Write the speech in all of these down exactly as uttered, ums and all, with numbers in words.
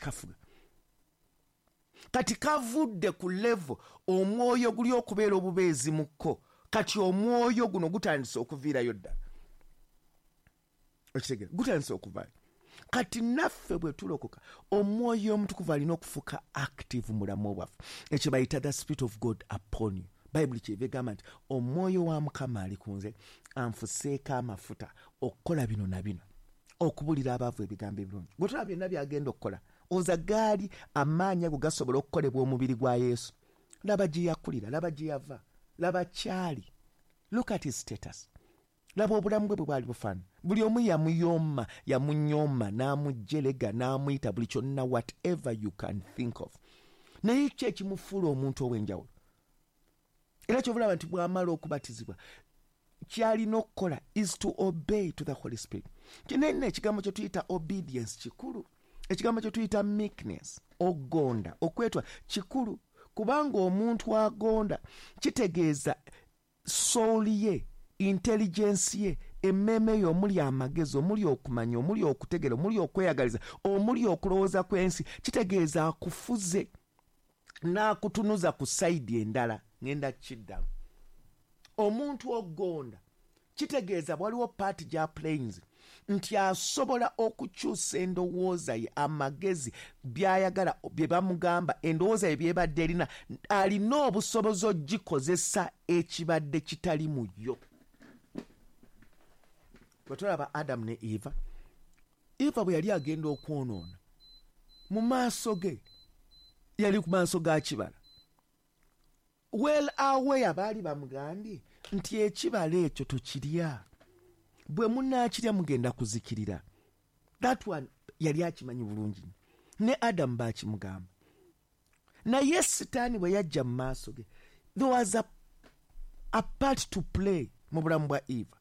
Kafuga. Kati kavudde ku level omwoyo guli okubeera obubeezi mu kko. Kati omwoyo guno gutandise okuviirayo ddala. Okitegeera? Gutandise okuvaayo. Kati naffe bwe tulokoka, omwoyo omutukuvu alina okufuuka active mu bulamu bwaffe. Ekyo bayita the Spirit of God upon you. Bayibuli kyeva egamba nti omwoyo wa Mukama ali ku nze, anfuseeko amafuta okukola bino na bino, okubulira abaavu ebigambo ebirungi. Gwe tulaba byonna byagenda okukola, oza gaali amaanyi ago gasobola okukolebwa omubiri gwa Yesu. Laba gye yakulira, laba gye yava, laba kyali. Look at his status. Laba obulamu bwe bwe bwali bufaanana. Buli omu yamuyooma, yamunyooma, n'amujerega, n'amuyita buli kyonna, whatever you can think of. Naye ki ekimufuula omuntu ow'enjawulo? Era kyova olaba nti bw'amala okubatizibwa, ky'alina okukola is to obey to the Holy Spirit. Kinene ekigambo kye tuyita obedience kikulu. Ekigambo kye tuyita meekness, ogonda, okwetwa kikulu. Kubanga omuntu agonda kitegeeza soul ye, intelligence ye, emmeeme ye omuli amagezi, omuli okumanya, omuli okutegera, omuli okweyagaliza, omuli okulowooza kw'ensi, kitegeeza akufuze n'akutunuza ku sayidi endala. Ngenda kiddamu. Omuntu ogonda kitegeeza waliwo part gya planes nti asobola okukyusa endowooza ye, amagezi, by'ayagala bye bamugamba, endowooza ye byebadde erina, alina obusobozi ogikozesa ekibadde kitali mu yo. Bwe tulaba Adamu ne Eva, Eva bwe yali agenda okwonoona mu maaso ge, yali ku maaso ga kibala. Well aware baali bamugambye nti ekibala ekyo tokirya, bwe munaakirya mugenda kuzikirira. That one yali akimanyi bulungi, ne Adamu baakimugamba. Naye Sitaani bwe yajja mu maaso ge, there was a, a part to play mu bulamu bwa Eva.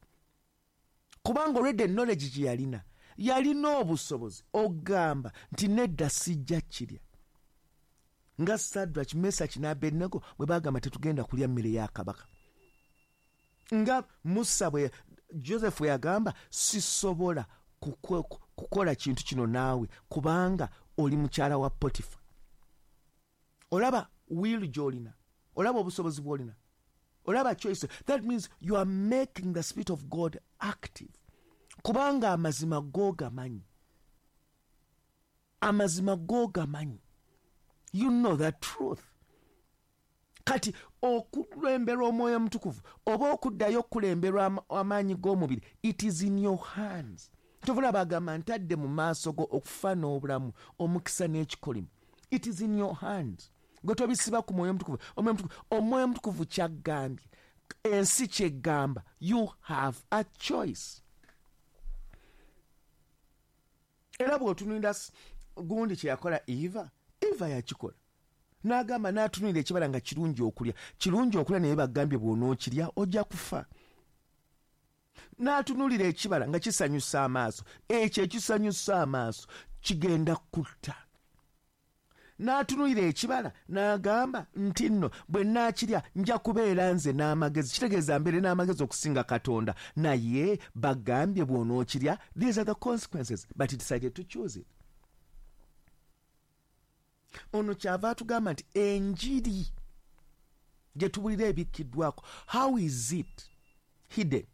Kubanga already knowledge gye yalina, yalina obusobozi okugamba nti nedda sijja kirya. Nga Sadrach, Mesach ne Abednego bwe bagamba tetugenda kulya mmere ya kabaka. Nga Musa bwe Joseph bwe yagamba sisobola kukola kintu kino naawe kubanga oli mukyala wa Potifa. Olaba will gy'olina, olaba obusobozi bw'olina, olaba choice. That means you are making the Spirit of God active. Kubanga amazima go gamanyi, amazima go gamanyi. You know the truth. Kati okulemberwa omwoyo omutukuvu oba okuddayo okulemberwa amaanyi g'omubiri, it is in your hands. Tovula bagamba ntadde mu maaso go okufa n'obulamu, omukisa n'ekikolimo. It is in your hands. Gwe tobisiba ku mwoyo omutukuvu. Omwoyo omutukuvu kyagambye, ensi kyegamba, you have a choice. Era bw'otunuulira gundi kye yakola Eva, Eva yakikola. N'agamba n'atunuulira ekibala nga kirungi okulya, kirungi okulya naye bagambye bw'onookirya ojja kufa. N'atunuulira ekibala nga kisanyusa amaaso, ekyo ekisanyusa amaaso kigenda kutta. N'atunuulira ekibala n'agamba nti nno bwe nnaakirya nja kubeera nze n'amagezi, kitegeeza mbeere n'amagezi okusinga Katonda. Naye bagambye bw'onookirya, these are the consequences, but he decided to choose it. Ono kyava atugamba nti enjiri gye tubulira ebikkiddwako, how is it hidden?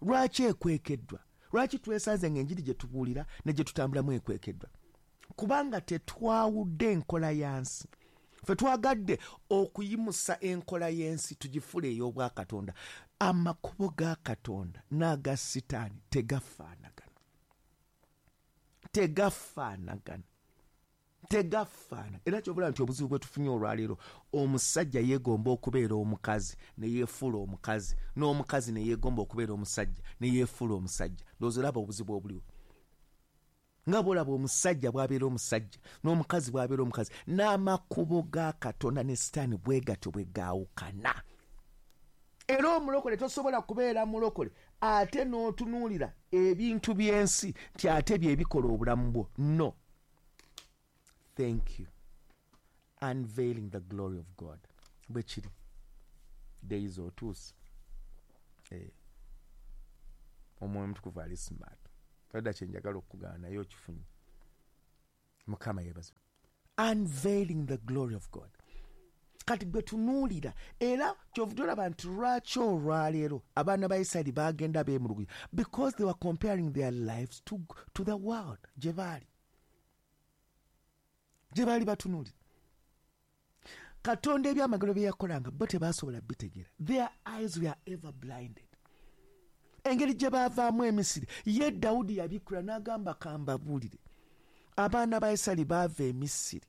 Lwaki ekwekeddwa? Lwaki twesanze ng'enjiri gye tubuulira ne gye tutambulamu ekwekeddwa? Kubanga tetwawudde enkola ya nsi. Ffe twagadde okuyimusa enkola y'ensi tugifuule ey'obwakatonda. Amakubo ga Katonda n'aga Sitaani tegafaanagana, tegafaanagana, tegafaana. Era ky'obulaba nti obuzibu bwe tufunye olwaleero, omusajja yeegomba okubeera omukazi ne yeefuula omukazi, n'omukazi ne yeegomba okubeera omusajja ne yeefuula omusajja. Ndowooza olaba obuzibu obuliwo. Nga bw'olaba omusajja bw'abeera omusajja n'omukazi bw'abeera omukazi, n'amakubo ga Katonda ne Sitaani bwe gatyo bwe gaawukana. Era omulokole tosobola kubeera mulokole ate n'otunuulira ebintu by'ensi nti ate bye bikola obulamu bwo. No. Thank you. Unveiling the glory of God. Bwe kiri. Days otuuse. Eh. Omwoyo omutukuvu ali smart. Todda kye njagala okukugamba naye okifunye. Mukama yeebazibwe. Unveiling the glory of God. Kati gwe tunuulira, era kyovudde olaba nti lwaki olwaleero abaana ba Isirayiri baagenda beemulugunya, because they were comparing their lives to, to the world gye baali gye baali batunuulira. Katonda ebyamagero bye yakolanga bo tebasobola bitegeera. Their eyes were ever blinded. Engeri gye baavaamu Emisiri, ye Dawudi yabikkula n'agamba, kambabuulire, abaana ba Isirayiri baava e Misiri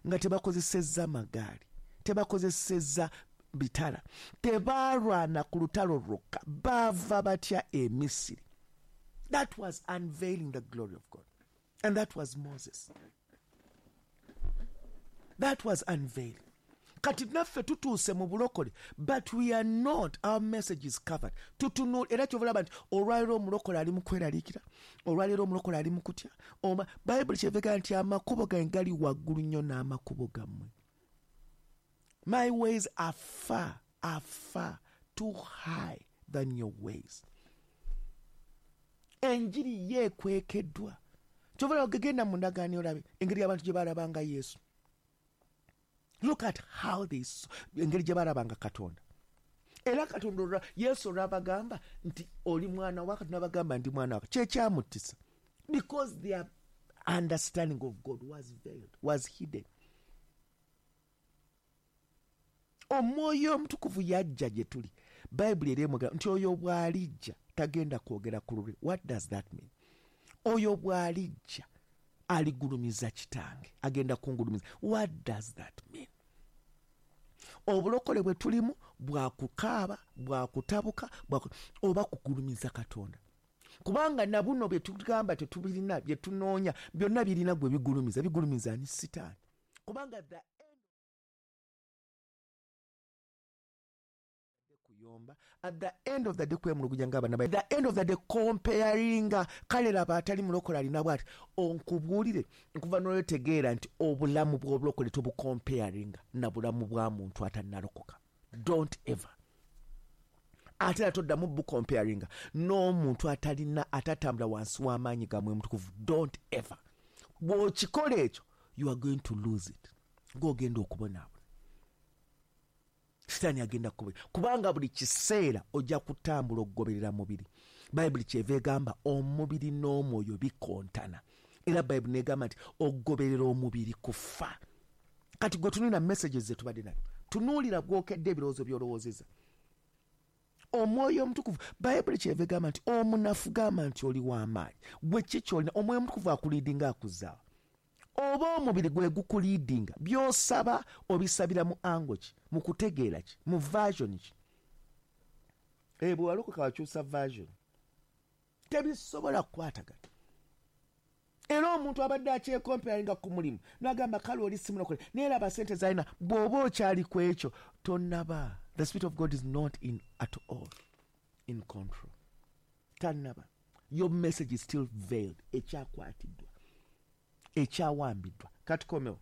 nga tebakozesezza magaali, tebakozesezza bitala, tebaalwana ku lutalo lwokka, baava batya e Misiri. That was unveiling the glory of God, and that was Moses. That was unveiling. Kati naffe tutuuse mu bulokole, but we are not, our message is covered. Tutunula, era kyova olaba nti olwaleero omulokole ali mu kweraliikira, olwaleero omulokole ali mu kutya. Bayibuli kyeva egamba nti amakubo gange gali waggulu nnyo n'amakubo gammwe. My ways are far, are far too high than your ways. Enjiri ye ekwekeddwa. Kyova olaba genda mu ndagaano olabe engeri abantu gye balabanga Yesu. Look at how they saw, engeri gye balabanga Katonda. Era Katonda Yesu olwabagamba nti oli mwana wa Katonda, abagamba ndi mwana wa Katonda. Kye kyamuttisa. Because their understanding of God was veiled, was hidden. Omwoyo Omutukuvu yajja gye tuli. Bayibuli era emugamba nti oyo bw'alijja tagenda kwogera ku lulwe. What does that mean? Oyo bw'alijja aligulumiza kitange, agenda kungulumiza. What does that mean? Obulokole bwe tulimu bwakukaaba, bwakutabuka, oba kugulumiza Katonda. Kubanga na buno bye tugamba tetubirina, bye tunoonya byonna birina gwe bigulumiza. Bigulumiza ni Sitaani. Kubanga the kuyomba, at the end of the day kwemulugunya ng'abaana ba, at the end of the day comparing, kale laba atali mulokole alina bw'ati. Onkubuulire nkuva n'olwetegeera nti obulamu bw'obulokole tobucomparinga na bulamu bwa muntu atannalokoka. Don't ever. Ate era toddamu bucomparinga n'omuntu atalina, atatambula wansi w'amaanyi ga Mwoyo Mutukuvu. Don't ever. Bw'okikola ekyo, you are going to lose it. Ng'ogenda okubonaabona. Sitaani agenda kukuba, kubanga buli kiseera ojja kutambula okugoberera mubiri. Bayibuli kyeva egamba omubiri n'omwoyo bikontana. Era Bayibuli n'egamba nti okugoberera omubiri kufa. Kati gwe tunuulira messages ze tubadde nayo, tunuulira gw'okedde ebirowoozo by'olowoozezza. Omwoyo Omutukuvu, Bayibuli kyeva egamba nti omunafu gamba nti oli w'amaanyi. Gwe ki ky'olina? Omwoyo Omutukuvu akuliidinga akuzzaawa. Oba omubiri gwe gukuliidinga, by'osaba obisabira mu ango ki, mu kutegeera ki, mu version ki? Eh, bwe walokoka wakyusa version, tebisobola kukwatagana. Era omuntu abadde akyekomparinga ku mulimu n'agamba kale oli si mulokole, naye laba sente z'alina. Bw'oba okyali ku ekyo tonnaba. The Spirit of God is not in at all in control. Tannaba. Your message is still veiled. Ekyakwatiddwa, ekyawambiddwa. Katukomewo.